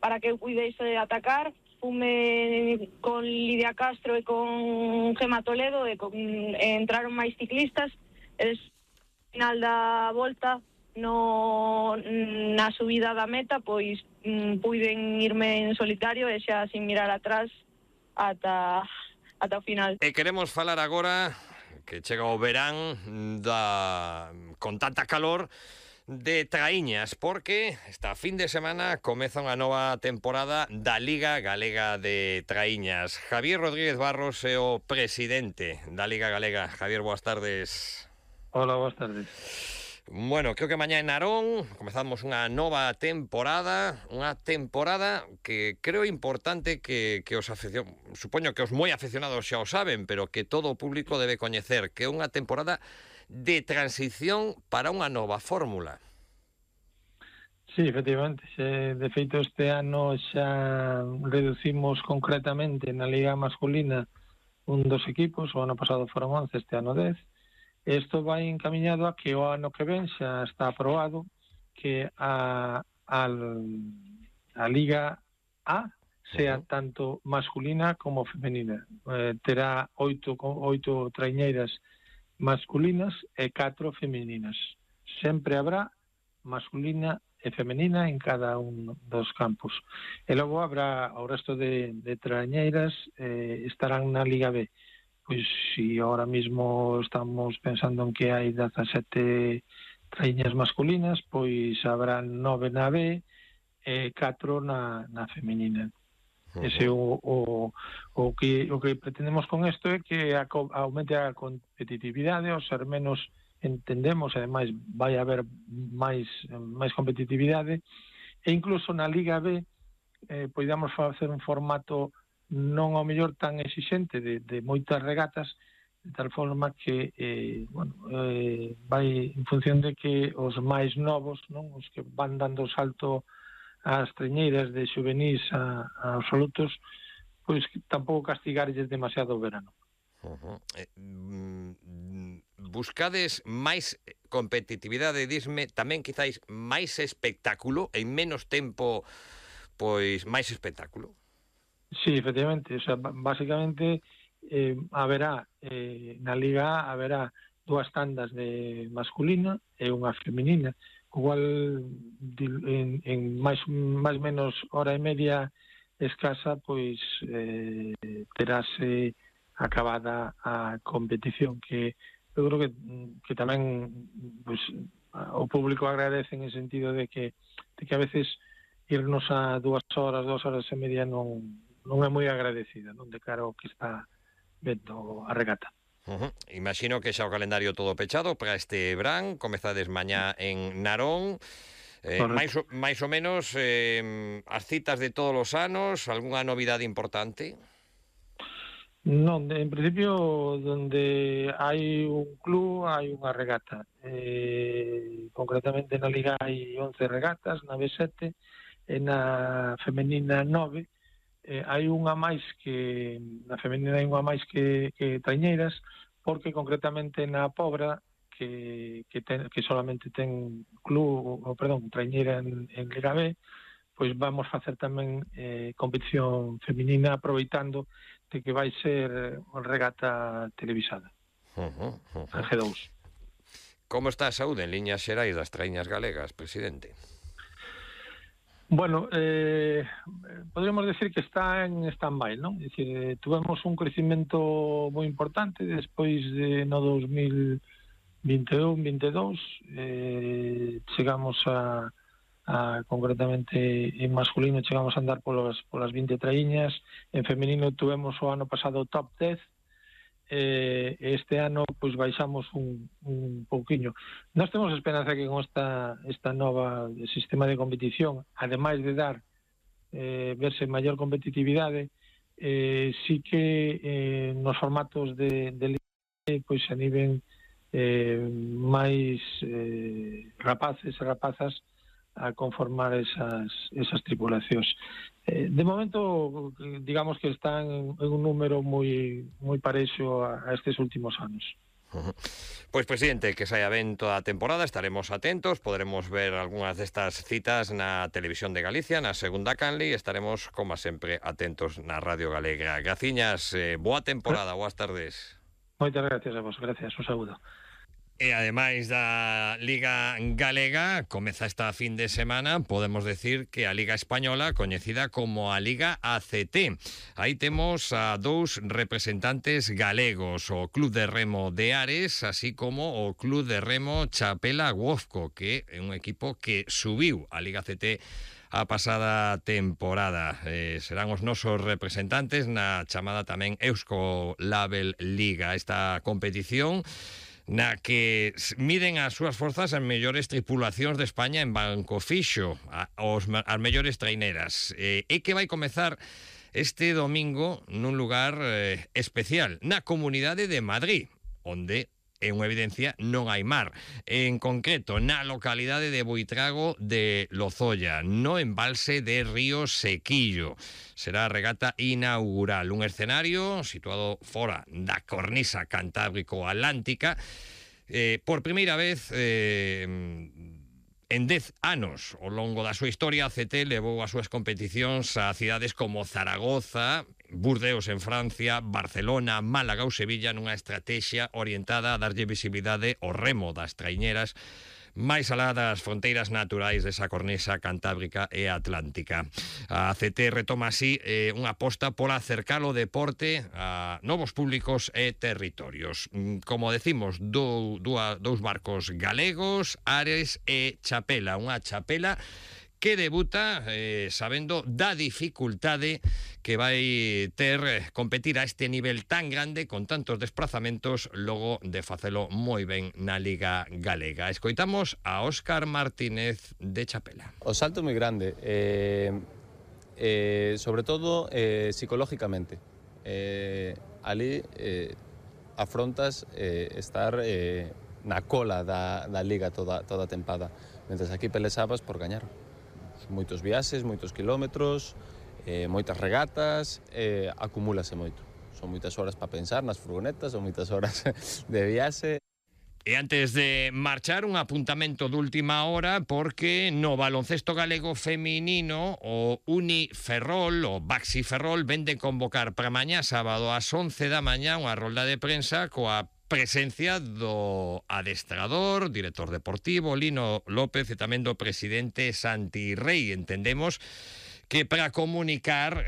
para que eu puidese atacar. Fume con Lidia Castro e con Gema Toledo e entraron máis ciclistas. E final da volta na subida da meta pois puiden irme en solitario e xa sin mirar atrás ata o final. E queremos falar agora que chega o verán con tanta calor de traíñas, porque esta fin de semana comeza unha nova temporada da Liga Galega de Traíñas. Javier Rodríguez Barros é o presidente da Liga Galega. Javier, boas tardes. Hola, boas tardes. Bueno, creo que mañá en Narón comezamos unha nova temporada, que creo importante que os supoño que os moi aficionados xa o saben, pero que todo o público debe coñecer, que é unha temporada de transición para unha nova fórmula. Sí, efectivamente. De feito, este ano xa reducimos concretamente na Liga masculina un dos equipos. O ano pasado foron 11, este ano 10. Isto vai encaminhado a que o ano que ven xa está aprobado que a Liga A sea tanto masculina como femenina. Terá 8 traiñeiras masculinas e 4 femininas. Sempre habrá masculina e femenina en cada un dos campos. E logo habrá o resto de traiñeiras estarán na Liga B. Pois si ahora mismo estamos pensando en que hai 17 traiñas masculinas, pois habrá 9 na B e 4 na femenina. Ese o que pretendemos con isto é que aumente a competitividade, ao ser menos entendemos, e ademais vai haber máis competitividade, e incluso na Liga B podamos facer un formato non ao mellor tan exixente de moitas regatas, de tal forma que vai en función de que os máis novos, non, os que van dando o salto as treñeiras de xuvenís a absolutos, pois tampouco castigarlles demasiado o verano. Buscades máis competitividade, disme, tamén quizáis máis espectáculo, en menos tempo, pois máis espectáculo? Sí, efectivamente, o sea, básicamente haberá na Liga A haberá 2 tandas de masculina e unha femenina, igual en máis menos hora e media escasa, pois terase acabada a competición, que eu creo que tamén pois, o público agradece en el sentido de que a veces irnos a 2 horas e media non é moi agradecida, non, de cara ao que está vendo a regata. Imagino que xa o calendario todo pechado para este verán, comezades mañá en Narón. máis ou menos as citas de todos os anos, algunha novidade importante? Non, en principio donde hai un club hai unha regata. Concretamente na Liga hai 11 regatas, na B7 e na femenina 9. Hai unha máis que na femenina hai unha máis que traiñeiras, porque concretamente na Pobra que solamente ten traiñeira en Liga B, pois vamos facer tamén competición femenina, aproveitando de que vai ser regata televisada en G2. Como está a saúde en liñas xerais das traíñas galegas, presidente? Bueno, podríamos decir que está en stand-by, non? É dicir, tuvemos un crecimento moi importante despois de no 2021-22, chegamos a concretamente en masculino chegamos a andar polas 20 traíñas, en femenino tuvemos o ano pasado top 10, este ano pois baixamos un pouquiño. Nós temos esperanza que con esta nova sistema de competición, ademais de dar verse maior competitividade, sí que nos formatos de liga pois se animen máis rapaces e rapazas a conformar esas tripulacións. De momento, digamos que están en un número moi parexo a estes últimos anos. Pois, presidente, que saia ben toda a temporada, estaremos atentos, podremos ver algunhas destas citas na Televisión de Galicia, na segunda canle, e estaremos, como sempre, atentos na Radio Galega. Graciñas, boa temporada, boas tardes. Moitas gracias a vos, gracias, un saúdo. E ademais da Liga Galega, comeza esta fin de semana, podemos decir que a Liga Española, coñecida como a Liga ACT. Aí temos a dous representantes galegos, o Club de Remo de Ares, así como o Club de Remo Chapela Guofco, que é un equipo que subiu a Liga ACT a pasada temporada. Serán os nosos representantes na chamada tamén Eusko Label Liga. Esta competición na que miden as súas forzas as mellores tripulacións de España en banco fixo, as mellores traineras, e que vai comezar este domingo nun lugar especial, na Comunidade de Madrid, onde é unha evidencia, non hai mar. En concreto, na localidade de Buitrago de Lozoya, no embalse de Río Sequillo. Será a regata inaugural, un escenario situado fora da cornisa cantábrico-atlántica. Por primeira vez en 10 anos, ao longo da súa historia, a CT levou as súas competicións a cidades como Zaragoza, Burdeos en Francia, Barcelona, Málaga ou Sevilla, nunha estrategia orientada a darlle visibilidade ao remo das traiñeras máis alá das fronteiras naturais desa cornisa cantábrica e atlántica. A CT retoma así unha aposta por acercar o deporte a novos públicos e territorios. Como decimos, dous barcos galegos, Ares e Chapela. Unha Chapela que debuta sabendo da dificultade que vai ter competir a este nivel tan grande con tantos desplazamentos logo de facelo moi ben na Liga Galega. Escoitamos a Óscar Martínez de Chapela. O salto é moi grande, sobre todo psicológicamente. Ali afrontas estar na cola da Liga toda a tempada, mentres aquí pelexabas por gañar. Moitos viaxes, moitos kilómetros, moitas regatas, acumúlase moito. Son moitas horas para pensar nas furgonetas, son moitas horas de viaxe. E antes de marchar, un apuntamento de última hora, porque no baloncesto galego feminino o Uniferrol, o Baxi Ferrol, vende convocar para mañá sábado ás 11 da mañá unha rolda de prensa coa presencia do adestrador, director deportivo Lino López e tamén do presidente Santi Rei. Entendemos que para comunicar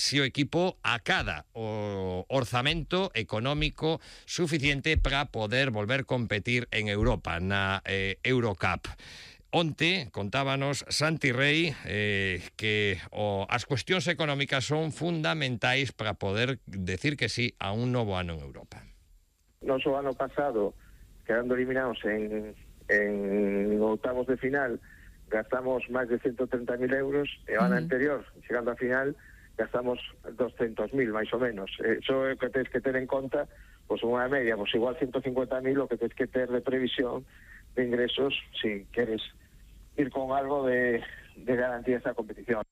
si o equipo acada o orzamento económico suficiente para poder volver a competir en Europa, na Eurocup. Onte contábanos Santi Rei que as cuestións económicas son fundamentais para poder decir que sí a un novo ano en Europa. Nos o ano pasado, quedando eliminados en octavos de final, gastamos máis de 130.000 euros, e o ano anterior, chegando a final, gastamos 200.000, máis ou menos. Eso é o que tens que ter en conta, pois unha media, pois igual 150.000 o que tens que ter de previsión de ingresos, si queres ir con algo de garantía esta competición.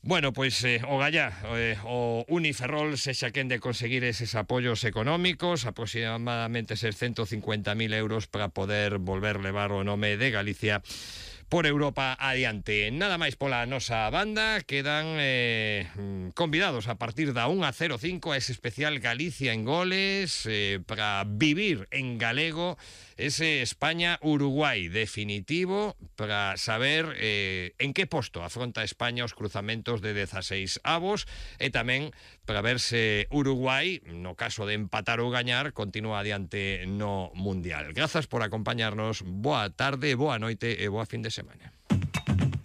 Bueno, pois o gallá, o Uniferrol sexa quen de conseguir eses apoios económicos, aproximadamente 150.000 euros para poder volver levar o nome de Galicia por Europa adiante. Nada máis pola nosa banda, quedan convidados a partir da 1:05 a ese especial Galicia en goles para vivir en galego ese España-Uruguai definitivo, para saber en que posto afronta España os cruzamentos de 16 avos, e tamén para ver se Uruguai, no caso de empatar ou gañar, continúa adiante no Mundial. Grazas por acompañarnos, boa tarde, boa noite e boa fin de semana.